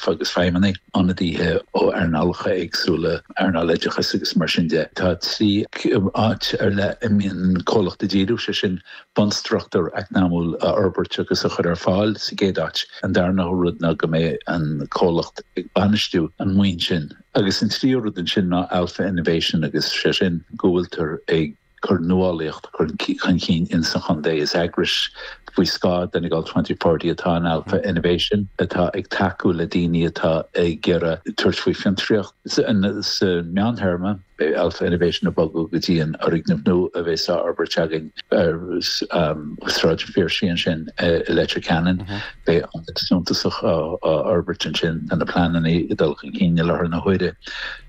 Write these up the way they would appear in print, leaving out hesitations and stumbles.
Alpha agus feidhmeannaigh, ionadaithe ó earnálacha éagsúla, earnáil oideachais agus mar sin de. Tá 3 áit ar leith a mbíonn an comhlacht ag díriú, sé sin bunstruchtúr eacnamúil a fhorbairt agus a chur ar fáil sa gcéad áit. An darna rud ná go mbeidh an comhlacht ag bainistiú an mhaoin sin. Agus an tríú rud ansin ná Alpha Innovation agus sé sin go bhfuiltear ag cur nuálaíocht chun cinn ins an chontae. Is eagrais faoi scáth Donegal 2040 atá in Alpha Innovation atá ag tacú le daoine atá ag iarraidh tabhairt faoi fiontraíocht. Sa meántéarma, beidh Alpha Innovation ag bogadh go dtí an fhoirgneamh nua a bheas á fhorbairt againn ar Sráid an Phiarsaigh ansin i Leitir Ceanainn. Beidh ionad suntasach á fhorbairt ansin. Tá na pleananna ag dul chun cinn i láthair na huaire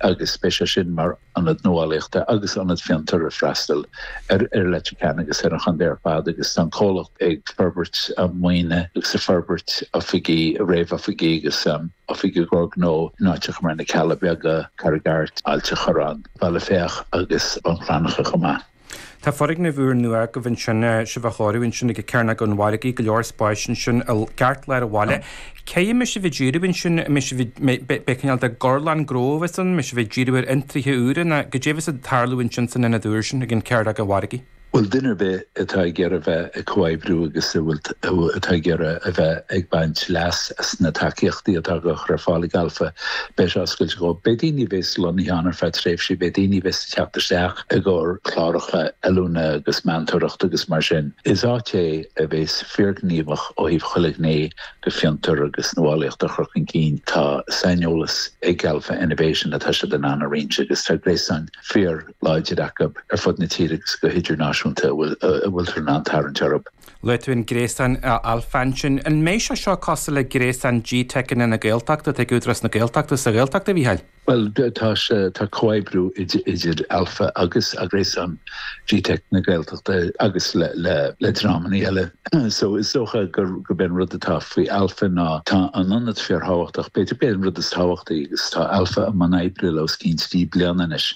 agus beidh sé sin mar ionad nuálaíochta agus ionad fiontair ag freastal ar Leitir Ceanainn agus ar an chontae ar fad agus tá an comhlacht ag forbairt maoine agus ag forbairt oifigí, réamhoifigí agus oifigí i gcomhair gnó in áiteacha mar na Cealla Beaga, Carraig Airt, Ailt an Chorráin, Baile Féach agus Bun Cranncha chomh maith. Tá foirgneamh úr nua agaibh ansin, sibh á chóiriú ansin ag Cearnóg an Mhargaidh, go leor spáis ansin i gceartlár an bhaile. Cé a mbeidh sibh ag díriú ansin, an mbeidh sibh ag, beidh cineál de gorlann gnó a bheas ann, an mbeidh sibh ag díriú ar fhiontraithe úra nó goidé a bheas ag tarlú ansin san ionad úr sin ag an Cearnóg an Mhargaidh? Bhuel, duine ar bith atá ag iarraidh bheith ag comhoibriú agus a bhfuil, atá ag iarraidh a bheith ag baint leas as na tacaíochtaí atá á gcur ar fáil ag Alpha, beidh sé oscailte dhóibh. Beidh daoine a bheas lonnaithe ann ar feadh tréimhsí, beidh daoine a bheas ag teacht isteach i gcomhair cláracha oiliúna agus meantóireachta agus mar sin. Is áit é a bheas fíorghníomhach ó thaobh chuile ghné de fiontar agus nuálaíocht a chur chun cinn. Tá saineolas ag Alpha Innovation atá siad in ann a roinnt agus tá gréasán fíor láidir acu ar fud na tíre agus go hidirnáisiúnta a bhfuiltear in ann tarraingt orthu. Luaigh tú an gréasán Alpha ansin. An mbeidh sé seo cosúil le gréasán GTeiceanna na Gaeltachta atá ag Údarás na Gaeltachta sa Ghaeltacht, a Mhícheáil? Bhuel, tá sé, tá comhoibriú idir Alpha agus gréasán GTeic na Gaeltachta agus le le dreamanna eile. So is dócha gurb é an rud atá faoi Alpha ná tá an ionad fíorthábhachtach, b'fhéidir b'é an rud is tábhachtaí agus tá Alpha i mbun oibre le os cionn 3 bliana anois,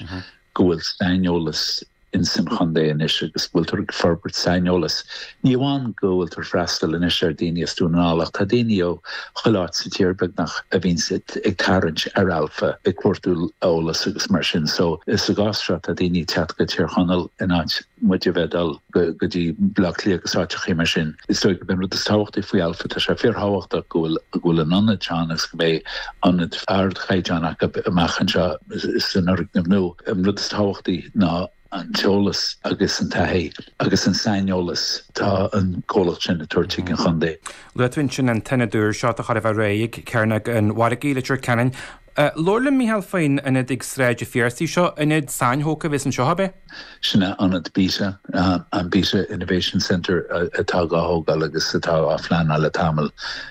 go bhfuil saineolas ins an chontae anois agus go bhfuiltear ag forbairt saineolas. Ní amháin go bhfuiltear freastal anois ar daoine as Dún na nGall ach tá daoine ó chuile áit sa tír beagnach a bhíonns ag tarraingt ar Alpha ag cuartú eolas agus mar sin. So sa gcás seo tá daoine ag teacht go Tír Chonaill in áit muid a bheith ag dul go dtí Baile Átha Cliath agus áiteachaí mar sin. Is dóigh gurb é an rud is tábhachtaí faoi Alpha, tá sé fíorthábhachtach go bhfuil go bhfuil an ionad seo ann agus go mbeidh ionad ardchaighdeáin acu amach anseo san fhoirgneamh nua. An rud is tábhachtaí ná an t-eolas agus an taithí agus an saineolas atá an comhlacht sin ag tabhairt chuig an chontae. Luaigh tú ansin an t-ionad úr seo atá chóir a bheith réidh ag Cearnóg an Mhargaidh, Leitir Ceanainn. Labhair liom, Mícheál, faoin ionad ag Sráid an Phiarsaigh seo. Ionad sainthógtha a bheas anseo, ab ea? Sin é ionad Beta, an Beta Innovation Centre atá dhá thógáil agus atá á phleanáil le tamall.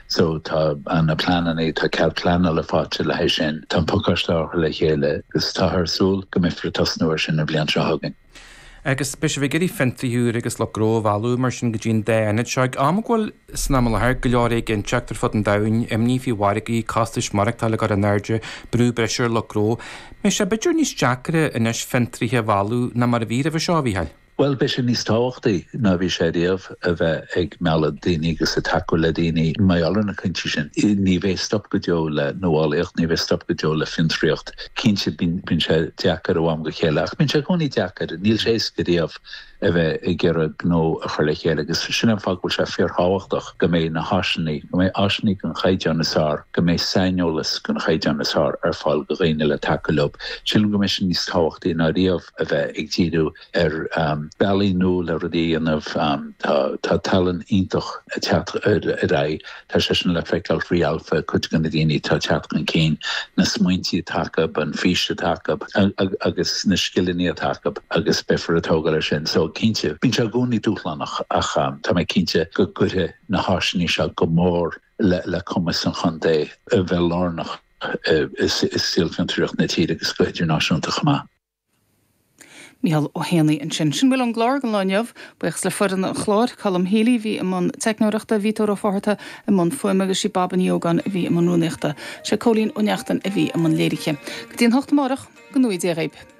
So tá na pleananna, tá cead pleanála faighte le haghaidh sin. Tá an pacáiste á chur le chéile agus táthar ag súil go mbeifear ag tosnú air sin an bhliain seo chugainn. Agus beidh sibh ag iarraidh fiontraithe úra agus lucht gnó a mhealladh mar sin go dtí an dá ionad seo. Ag am go bhfuil, san am i láthair, go leor éiginnteacht ar fud an domhain, imní faoi mhargaí, costais maireachtála ag dul in airde, brú breise ar lucht gnó. Mbeidh sé b'fhéidir níos deacra anois fiontraithe a mhealladh ná mar a bhí roimhe seo, a Mhícheáil? Bhuel, beidh sé níos tábhachtaí ná a bhí sé riamh a bheith ag mealladh daoine agus ag tacú le daoine mar gheall ar na cúinsí sin. Ní bheidh stop go deo le nuálaíocht, ní bheidh stop go deo le fiontraíocht. Cinnte, bíonn sé deacair ó am go chéile, ach bíonn sé i gcónaí deacair. Níl sé éasca riamh a bheith ag iarraidh gnó a chur le chéile agus sin an fáth go bhfuil sé fíorthábhachtach go mbeidh na háiseanna, go mbeidh áiseanna den chaighdeán is fearr, go mbeidh saineolas den chaighdeán is fearr ar fáil do dhaoine le tacú leo. Sílim go mbeidh sé níos tábhachtaí ná riamh a bheith ag díriú ar bealaí nua le rudaí a dhéanamh. Tá tallann iontach ag teacht ar aghaidh. Tá sé sin le feiceáil faoi Alpha, cuid de na daoine atá ag teacht chun cinn, na smaointí atá acu, an fís atá acu agus na scileanna atá acu agus beifear ag tógáil ar sin. So cinnte, bíonn sé i gcónaí dúshlánach ach tá mé cinnte go gcuirfidh na háiseanna seo go mór le cumas an chontae a bheith lárnach i saol fiontraíocht na tíre agus go hidirnáisiúnta chomh maith. Mícheál Ó hÉanaí ansin. Sin a bhfuil ón gclár don lá inniu. Buíochas le foireann an chláir, Colm Healy a bhí i mbun teicneoireachta, Vító Ó Fátharta i mbun fuaime agus sí Baba Ní Ógáin a bhí i mbun rúnaíochta. Sé Cóilín Ó Neachtain a bhí i mbun léirithe. Go dtí an hocht amárach, go ngnóthaí Dia dhaoib.